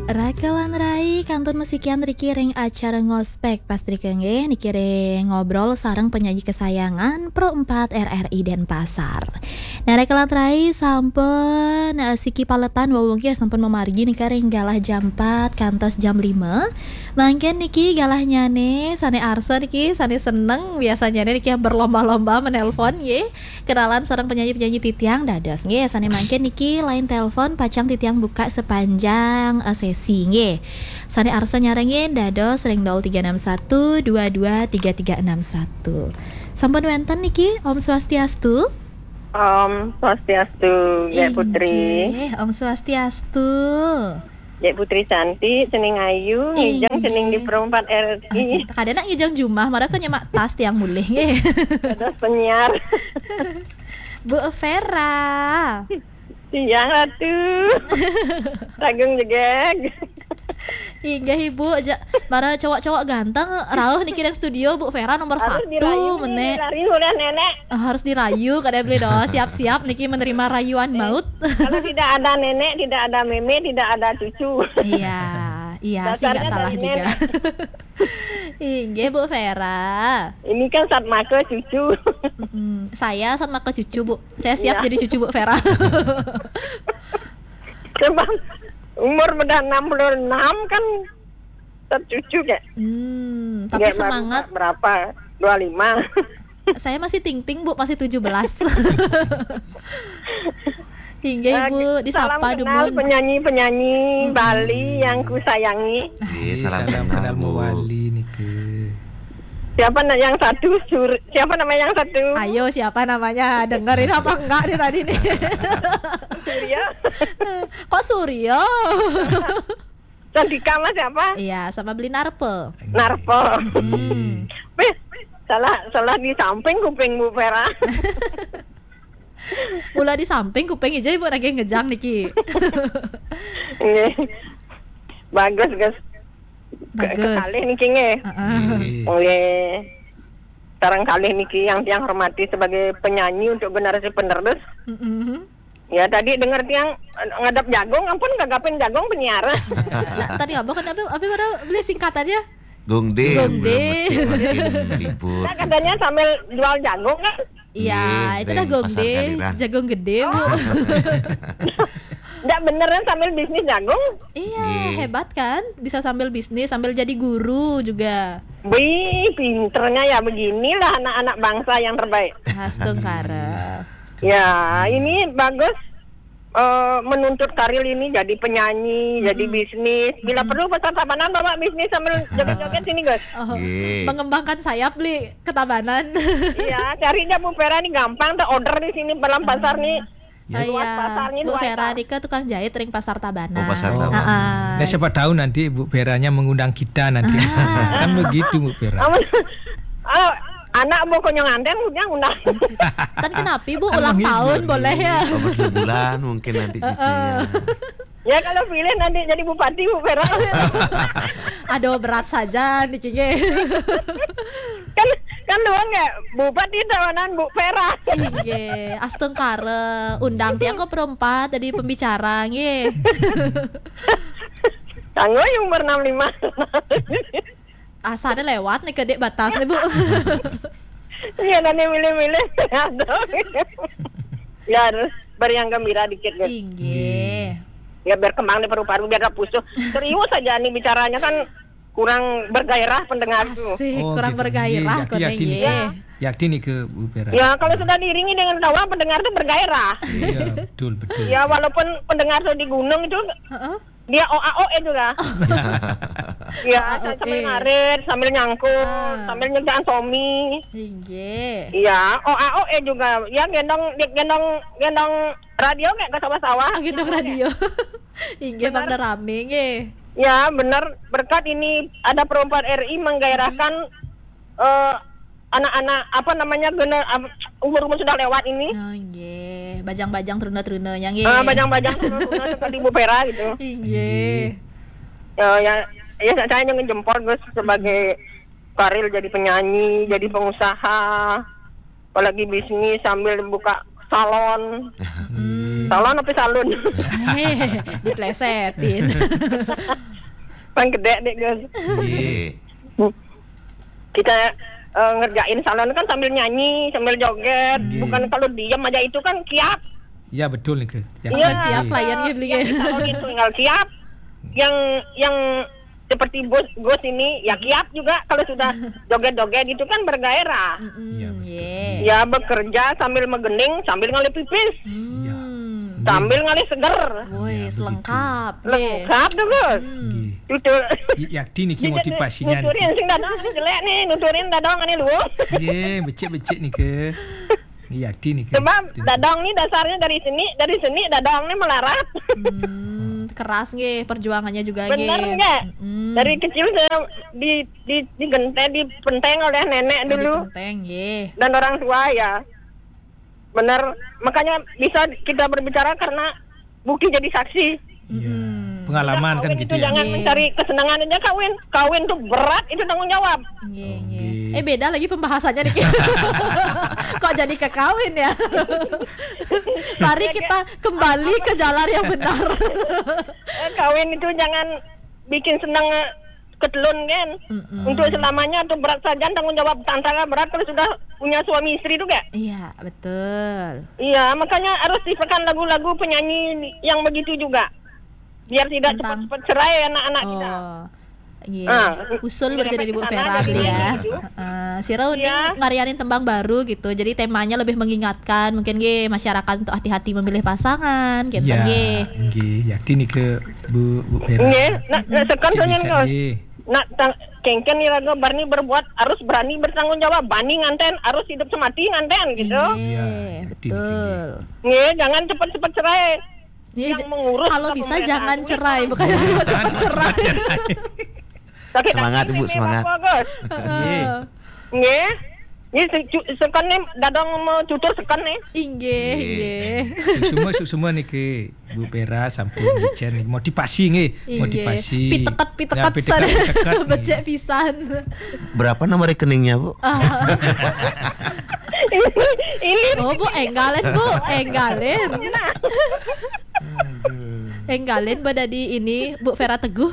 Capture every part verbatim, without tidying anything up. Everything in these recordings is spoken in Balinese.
Rakelan rai, kantun masikian riki ring acara Ngospek. Pas riki nggih, niki ring ngobrol sareng penyanyi kesayangan Pro empat R R I Denpasar. Nah, rakelan rai, sampun, eh, siki paletan wau nggih, sampun mamargi nika ring galah jam empat kantos jam lima. Mangkin niki galahnyane sane arsa niki, sane seneng, biasanya niki berlomba-lomba menelpon nggih. Kenalan sareng penyanyi-penyanyi titiang dados nggih, sane mangkin niki line telepon pacang titiang buka sepanjang, eh, sesi nggih. Sane arsa nyarengin dados ring nol tiga enam satu dua dua tiga tiga enam satu. Sampun wenten niki, Om Swastiastu. Om Swastiastu, Jek Putri. Inggih, Om Swastiastu. Jek Putri cantik, cening ayu, ngijang cening di Pro empat R I. Ah, kada nak ngijang jumah, mara ka nyemak tas tiang mulih nggih. Dados penyiar. Bu Vera. Siang, Ratu. Ragung jegeg. Inggih, Ibu, ja-, mara cowok-cowok ganteng rauh niki ring studio, Bu Vera nomor satu, dirayu nih, meneh. Dirayu udah nenek. Ah, harus dirayu, kada beli doh. Siap-siap niki menerima rayuan maut. Kalau tidak ada nenek, tidak ada meme, tidak ada cucu. Iya, iya, sih dasarnya nggak salah dari juga. Nenek. Inggih, Bu Vera. Ini kan satmaka cucu. Mm-mm. Saya satmaka cucu, Bu. Saya siap jadi cucu Bu Vera. Sebab umur udah enam puluh enam kan, tetap cucu, Kak. Hmm, tapi semangat. Berapa? Dua lima. Saya masih ting-ting, Bu, masih tujuh belas. Hingga Ibu disapa, salam kenal dumun. Penyanyi-penyanyi Bali yang kusayangi. Iya, salam kenal, Bu. Wali niki. Siapa na-, yang satu? Sur-, siapa nama yang satu? Ayo, siapa namanya? Dengerin apa enggak nih tadi nih? Surya. Kok Surya? Cantika Mas siapa? Iya, sama beli Narpe. Narpe. Hmm. Beh, salah, salah di samping kuping Bu Vera. Mula di samping kuping aja Ibu lagi ngejang niki. Nggih. Bagus, Gus. Bagus. Kekalih niki nggih. Heeh. Nggih. Nggih. Sareng kalih niki yang tiang hormati sebagai penyanyi untuk generasi penerus. Mm-mm. Ya, tadi dengar tiang, eh, ngadap jagung, ampun gagapin jagung penyiar. Nah, tadi apa kan, apa, apa pada beli singkatannya? Gongde. Gongde. Belum mesti makin libur. Nah, katanya sambil jual jagung kan? Iya, itu dah gongde, jagung gede, Bu. Ndak beneran sambil bisnis jagung? Iya, hebat kan? Bisa sambil bisnis, sambil jadi guru juga. Wih, pinternya ya, beginilah anak-anak bangsa yang terbaik. Astungkara. Ya, ini bagus, eh, menuntut karir ini jadi penyanyi, jadi bisnis. Bila perlu Pasar Tabanan bawa bisnis sambil joget-joget sini, Gus. Oh, mengembangkan sayap, beli ke Tabanan. Iya, cari aja Bu Vera nih gampang, tuh order di sini dalam pasar nih. Ya. Luas pasarnya, Bu Vera nika tukang jahit ring Pasar Tabanan. Oh, Pasar Tabanan. Nah, siapa tahu nanti Bu Veranya mengundang kita nanti. Kan begitu, Bu Vera. Amun, oh, anak mau konyol nganten, udah undang. Kan kenapa, Bu? Kan ulang tahun, boleh ya? Bulan mungkin nanti cucunya. Ya, kalau pilih nanti jadi bupati, Bu Vera. Aduh, berat saja niki nggih. Kan, kan doang ya, Bupati Tabanan, Bu Vera. Inggih, astungkara, undang tiang ke perempat jadi pembicara nggih. Kanggo yang umur enam lima. Asane lewat nih, kedek batas nih, Bu. Iya, nanti milih-milih. Aduh. Ya, harus beri yang gembira dikit, Gus. Inggih. Ya, biar kembang nih paru-paru, biar gak pusuh. Serius aja nih bicaranya, kan kurang bergairah pendengar tuh. Asik, kurang bergairah, iya, yakin nih ke Bu Vera. Ya, kalau sudah diiringi dengan tawa, pendengar tuh bergairah. Iya, betul, betul. Ya, walaupun pendengar tuh di gunung itu, dia O A O E juga. Ya, sambil ngarit, sambil nyangkul, sambil nyerjaan somi. Inggih. Iya, O A O E juga. Ya, gendong, gendong, gendong radio kayak ke sawah-sawah. Oh, gendong radio. Inggih, Bang, rame nggih. Ya, benar. Berkat ini ada Pro empat R I menggairahkan, eh, anak-anak, apa namanya, gener-, am-, umur-umur sudah lewat ini. Oh, nggih. Bajang-bajang teruna-terunanya nggih. Eh, bajang-bajang teruna-teruna seperti Bu Vera gitu. Inggih. Eh, ya, ya, saya nyungun jempol, Gus, sebagai karir jadi penyanyi, jadi pengusaha, apalagi bisnis sambil buka salon. Salon apa salon? Heh, diplesetin. Pang gede deh, Gus. Nggih. Kita eh, ngerjain salon kan sambil nyanyi, sambil joget. Nggih. Bukan kalau diem aja itu kan kiap. Ya, betul nih, Ke. Ya, Iya. Kiap, layan gitu, Yang gitu. Di salon itu tinggal kiap. Yang yang seperti Gus, Gus ini ya kiap juga kalau sudah joget-joget itu kan bergairah. Mm-mm, Iya, betul. Ye. Ya bekerja sambil megening, sambil ngalih pipis, Hmm. Iya. Sambil ngalih seger. Woi, Iya, begitu. Lengkap. Ye. Lengkap tuh, Gus. Hmm. Nggih. Tutul. Y- yakti niki motivasinya. Nuturin sing dadong ini jelek nih, nuturin dadong ini lu. Nggih, becik-becik nih, Ke. Yakti nih, Ke. Sebab dadong nih dasarnya dari seni, dari seni dadong nih melarat. Hmm, keras nggih perjuangannya juga. Bener nggih. Nggak? Mm-mm. Dari kecil saya di di digenteng, dipenteng oleh nenek. Oh, dulu. Dipenteng, nggih. Dan orang tua ya. Bener. Makanya bisa kita berbicara karena Buki jadi saksi. Iya. Hmm. Pengalaman kan gitu ya. Jangan mencari kesenangan aja kawin. Kawin tuh berat, itu tanggung jawab. Nggih, oh, nggih. Eh, beda lagi pembahasannya nih. Kok jadi ke kawin ya? Mari kita kembali ke jalan yang benar. Eh, kawin itu jangan bikin senang eh, ketelun kan. Mm-mm. Untuk selamanya tuh berat saja tanggung jawab, tantangan berat kalau sudah punya suami istri tuh gak? Iya, betul. Iya, makanya harus diciptakan lagu-lagu penyanyi yang begitu juga. Biar tidak cepat-cepat cerai anak-anak kita. Oh. Iya. Ah. Usul berarti dari Bu Vera beli ya. Heeh. Sira uning ngarianin tembang baru gitu. Jadi temanya lebih mengingatkan. Mungkin nggih masyarakat untuk hati-hati memilih pasangan gitu nggih. Nggih, yakti nih ke Bu Bu Vera. Nggih, nak nak sekan soalnya nggih. Nak tang- kengken iraga berani berbuat harus berani bertanggung jawab. Bani nganten harus hidup semati nganten gitu. Iya, betul. Nggih, jangan cepat-cepat cerai. Iya, yang mengurus kalau bisa jangan cerai, bukan cepat cerai. Semangat, Bu, semangat. Nggih. Nggih. Nggih, sekan nih dadong mau tutur sekan nih. Inggih, inggih. Semua semua niki Bu Vera sampun dicen motivasi nggih, motivasi. Piteket piteket. Becek pisan. Berapa nomor rekeningnya, Bu? Ini. Oh, Bu, enggalin, Bu, enggalin. Enggalin badadi ini Bu Vera Teguh.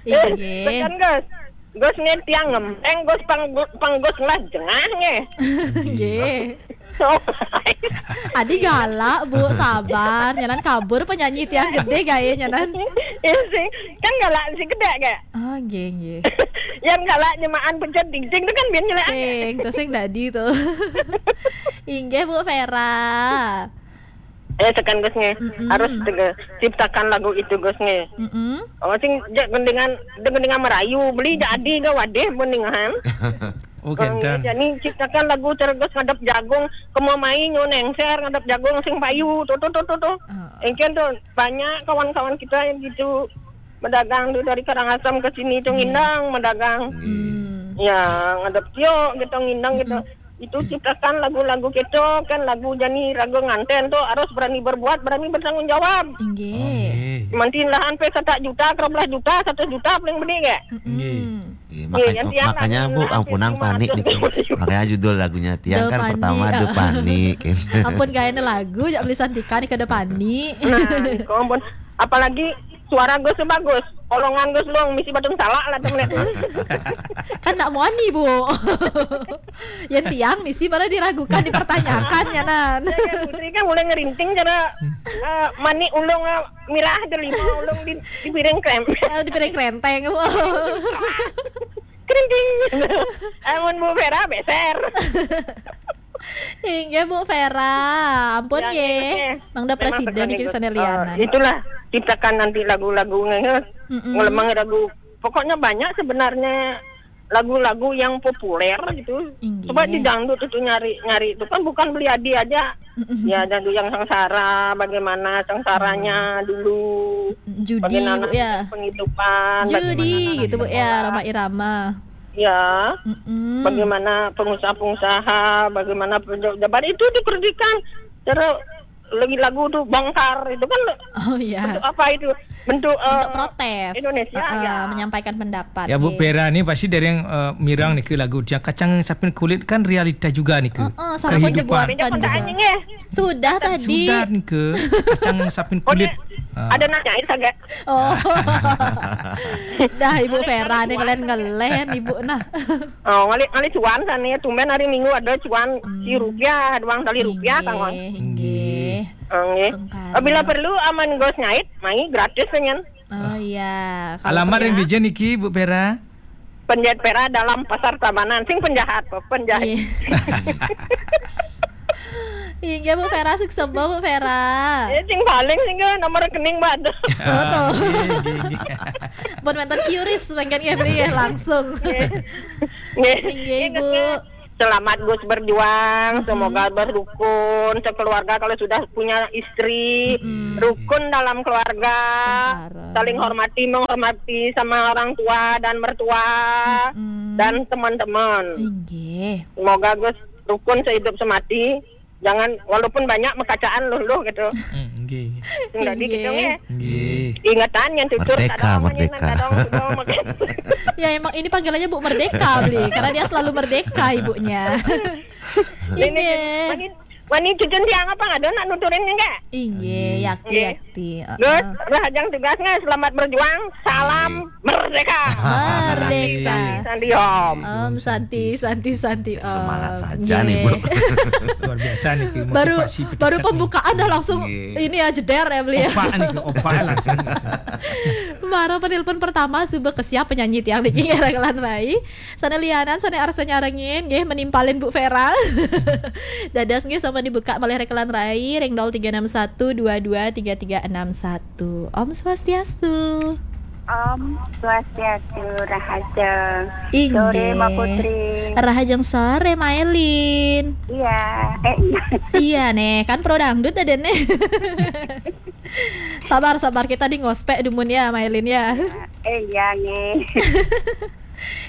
Inggih. Tekan, Gus. Gus nih tiang ngempeng, Gus pang pang Gus ngelah jengah nggih. Nggih. Adi galak, Bu, sabar. Nyanan kabur penyanyi tiang gede gaya nyanan. Iya sih. Kan galak si gede gak? Oh, nggih, nggih. Yang galak nyemaan pencet ding-ding itu kan biar nyelek. Sing, tuh sing dadi tuh. Inggih, Bu Vera. Eh, tekan Gus nge. Harus tege- ciptakan lagu itu Gus nge. Oh, sing je- dengan dengan merayu beli jadi ga wadeh beningan. Oh, kenten. Jadi ciptakan lagu terus ngadep jagung, kemo mai nyo nengser ngadep jagung sing payu tuh tuh tuh tuh tuh. Engken tuh banyak kawan-kawan kita yang gitu berdagang tuh dari Karangasem ke sini tuh ngindang berdagang. Ya, ngadep tio gitu ngindang gitu. Itu ciptakan lagu-lagu gitu kan lagu jani raga nganten tuh harus berani berbuat, berani bertanggung jawab. Inggih. Mantin lahan pe satak juta, kerap belas juta, satu juta paling beli gak? Nggih. Iya, makanya, makanya Bu, ampunang panik nih. Makanya judul lagunya tiang kan pertama The Panik. Ampun gaya lagu jak beli santika nih ke The Panik. Nah, ampun. Apalagi suara Gus bagus. Olongan Gus Long misi batung salah lah temen. Kan nak muani, Bu. Yang tiang misi malah diragukan, dipertanyakan ya nan. Putri kan mulai ngerinting cara eh, manik ulung eh, mirah delima ulung di, di piring krem. Oh, di piring krenteng. Kerinting. Amun Bu Vera beser. Inggih Bu Vera, ampun ya, nggih. Mangda presiden iki sane lianan. Itulah ciptakan nanti lagu-lagu ngehe. Ngelemah lagu. Pokoknya banyak sebenarnya lagu-lagu yang populer gitu. Coba di dangdut itu nyari-nyari itu kan bukan beli adi aja. Ya dangdut yang sengsara, bagaimana sengsaranya dulu. Judi, bagaimana Bu, ya. Penghidupan, judi bagaimana gitu Bu ya, Rhoma Irama. Ya. Bagaimana pengusaha-pengusaha, bagaimana pejabat itu diperhatikan. Cara lagi lagu tuh bongkar itu kan. Oh iya. Bentuk apa itu? Bentuk, bentuk eh, protes. Indonesia, eh, ya, menyampaikan pendapat. Ya, Bu Vera nih pasti dari yang eh, mirang nih ke lagu dia kacang sapin kulit kan realita juga nih ke. Heeh, sampun kehidupan. Dibuatkan juga. Sudah tadi. Sudah nih ke kacang sapin kulit. Ada nanya itu agak. Oh. Dah Ibu Vera nih kalian ngelen Ibu nah. Oh, ngalih ngalih cuan kan ya. Tumben hari Minggu ada cuan si rupiah, doang kali rupiah kan. Inggih, inggih. Inggih. Setengkara. Bila perlu aman gos nyait, mai gratis penyen. Oh iya. Alamat yang dijen niki Bu Vera? Penjahit Vera dalam Pasar Tabanan. Sing penjahat, penjahit. Iya. Inggih Bu Vera, sukses Bu Vera. Ya, sing paling sing nomor rekening Mbak. Oh, tuh. Inggih, inggih. Pun wonten kiuris mangkin ya beli ya langsung. Inggih. Inggih, Bu. Selamat Gus berjuang, semoga berrukun sekeluarga kalau sudah punya istri, rukun dalam keluarga, saling hormati, menghormati sama orang tua dan mertua dan teman-teman. Inggih. Semoga Gus rukun sehidup semati. Jangan walaupun banyak mekacaan luluh gitu. Hmm, nggih. Enggak dikit dong ya. Nggih. Ingetan yang tutur merdeka, merdeka. Ya emang ini panggilannya Bu Merdeka beli karena dia selalu merdeka ibunya. Ini wani cucun tiang apa ada nak nuturin enggak? Inggih, yakti, yakti. Gus, rahajeng tugasnya selamat berjuang. Salam merdeka. Merdeka. Santi, Om. Om Santi, Santi, Santi, Om. Semangat saja nih, Bu. Luar biasa nih, baru baru pembukaan dah langsung ini ya jeder ya beli ya. Opa nih, opa langsung. Mara penelpon pertama suba kesiap penyanyi tiang niki rekelan rai. Sana lianan, sana arsa nyarengin, nggih menimpalin Bu Vera. Dadas nggih sama dibuka malih rekelan rai ring nol tiga enam satu dua dua tiga tiga enam satu. Om Swastiastu. Om Swastiastu, Rahajeng. Inggih. Sore, Mbak Putri. Rahajeng sore, Mailin. Iya, eh iya. Iya nih, kan pro dangdut ada nih. Sabar, sabar, kita di ngospek dumun ya, Mailin ya. Eh iya nih.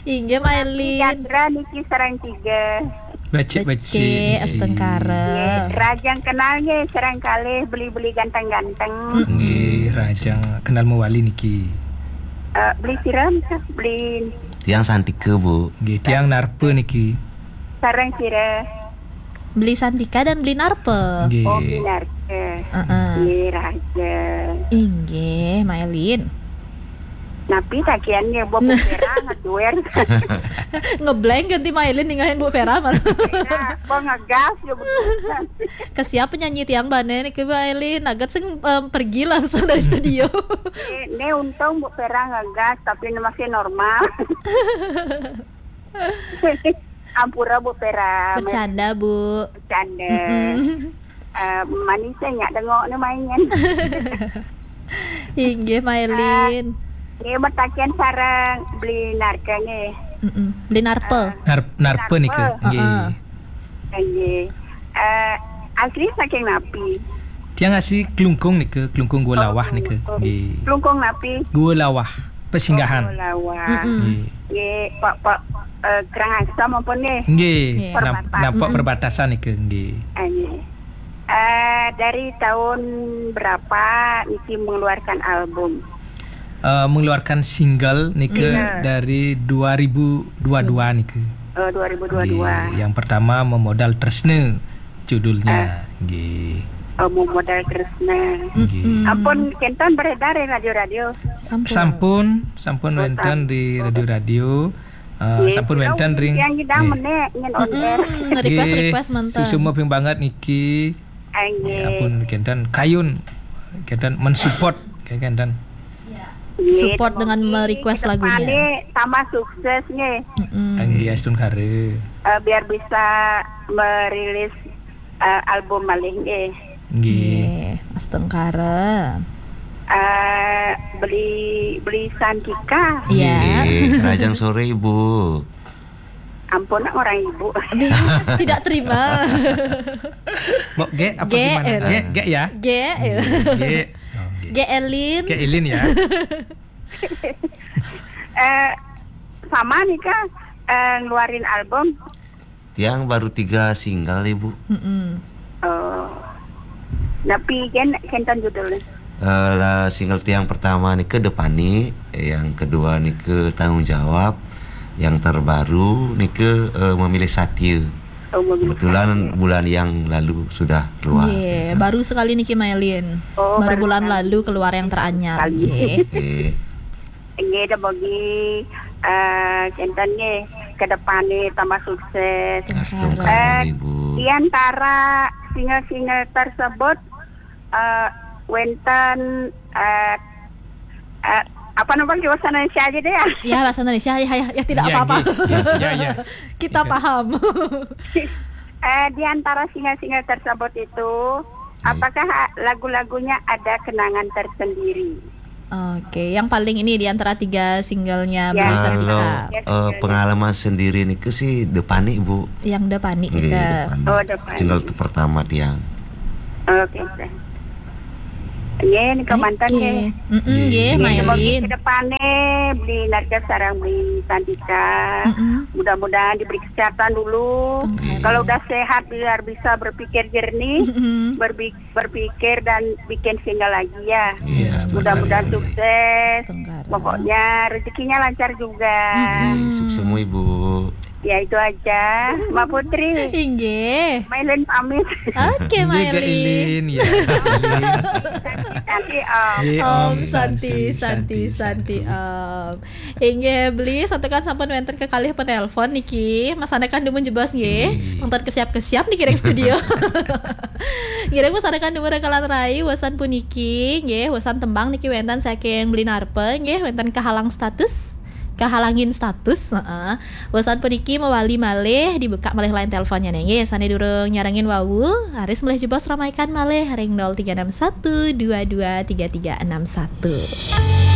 Inggih, Mailin. Gatra niki sareng tiga. Becik, becik, becik, astengkara. Nggih, rajang kenal nggih, sareng kalih beli-beli ganteng-ganteng. Nggih, rajang kenal mewali niki. Eh, beli siram, beli tiang Santika, Bu. Nggih, tiang Narpa niki. Sareng sira. Beli Santika dan beli Narpa. Nggih. Oh, beli Narpa. Heeh. Nggih, rajang. Inggih, Mailin. Napi takian ya, Bu Vera ngaduer. Ngeblank ganti Mailin ningahin Bu Vera malah. Nah, Bu ngegas ya, Bu. Kesiap penyanyi tiang bane niki Mailin, naget sing em, pergi langsung dari studio. Ini, ini untung Bu Vera ngegas, tapi ini masih normal. Ampura Bu Vera. Bercanda, Bu. Bercanda. Mm-mm. Eh, manis ya nyak dengok ni main. Inggih, Mailin. Nggih, metakian sareng beli narka nggih. Mm-mm. Beli narpa. Eh, Nar- narpa narpa. Nika. Nggih. Heeh. Nggih. Eh, asli saking napi? Tiang asli Klungkung nika, Klungkung Gua Lawah nika. Klungkung. Nggih. Klungkung napi? Gua Lawah, Pesinggahan. Oh, Gua Lawah. Mm-mm. Nggih. Nggih, Pak, Pak, eh, Kerang Asam apa nggih? Nggih, nggih. Nampak perbatasan nika, nggih. Ah, nggih. Eh, dari tahun berapa niki mengeluarkan album? Eh, mengeluarkan single nika dari dua ribu dua dua nika. Oh, dua ribu dua dua. Nggih, yang pertama Memodal Tresna judulnya. Ah. Nggih. Oh, Memodal Tresna. Nggih. Ampun, kenten beredar di radio-radio. Sampun. Sampun, sampun wenten di radio-radio. Eh, sampun wenten ring. Yang ngidang menek nyen on air. Mm-mm, request, request mantan. Susuma ping banget niki. Nggih. Ya ampun, kenten kayun, kenten mensupport, kenten. Nggih, support dengan merequest lagunya. Ke depane tambah sukses nggih. Mm-mm. Nggih, astun kare. Eh, biar bisa merilis eh, album malih nggih. Nggih. Nggih, astengkara. Eh, beli beli Santika. Iya. Nggih, rajang sore Ibu. Ampun nak orang Ibu. Aduh, tidak terima. Mbok Gek apa gimana? Gek, Gek ya? Gek. Nggih. Oh, nggih. Gek Elin. Gek Elin ya. Eh, sama nih Kak, eh, ngeluarin album. Tiang baru tiga single, Ibu. Mm-mm. Oh. Napi ken, kenten judulna? Eh, lah, single tiang pertama nika Depani, yang kedua nika Tanggung Jawab, yang terbaru nika eh, Memilih Satia. Oh, Memilih Kebetulan Satia. Bulan yang lalu sudah keluar. Nggih, ya kan? Baru sekali niki Mailin. Oh, baru bulan lalu keluar yang teranyar. Nggih. Nggih, da bogi eh, kenten nggih, ke depane tambah sukses. Astungkara, Ibu. Di antara single-single tersebut eh, wenten eh, eh, apa nama bahasa Indonesia aja deh ya. Ya, bahasa Indonesia, ya, ya, ya, tidak apa-apa. Nggih. Ya, ya. Kita paham. Eh, di antara single-single tersebut itu, apakah lagu-lagunya ada kenangan tersendiri? Oke, yang paling ini di antara tiga singlenya Beli Santika. Kalau eh, pengalaman sendiri nika sih Depani, Bu. Yang Depani nika. Depani. Oh, Depani. Single pertama tiang. Oke, teh. Nggih, nika manten nggih. Mm-mm, nggih, Mailin. Ke depane Beli Narja sareng Beli Santika. Mm-mm. Mudah-mudahan diberi kesehatan dulu. Astungkara. Kalau udah sehat biar bisa berpikir jernih, berpikir dan bikin single lagi ya. Mudah-mudahan sukses. Astungkara. Pokoknya rezekinya lancar juga. Sukses semua, Ibu. Ya, itu aja, Mbak Putri. Inggih. Mailin pamit. Oke, Mailin. Ilin, ya. Santi, Om. Nggih, Om Santi, Santi, Santi, Om. Inggih, Beli, santukan sampun wenten kekalih penelpon niki. Masandekan dumun jebos nggih. Nggih. Tongton kesiap-kesiap niki ring studio. Ngiring masandekan dumun rekalan rai, wesan puniki, nggih, wesan tembang niki wenten saking Beli Narpe, nggih, wenten kehalang status. Kehalangin status, heeh. Wesan puniki mawali malih dibuka malih line teleponnya nih, nggih. Sane durung nyarengin wau, raris malih jebos ramaikan malih ring nol tiga enam satu dua dua tiga tiga enam satu.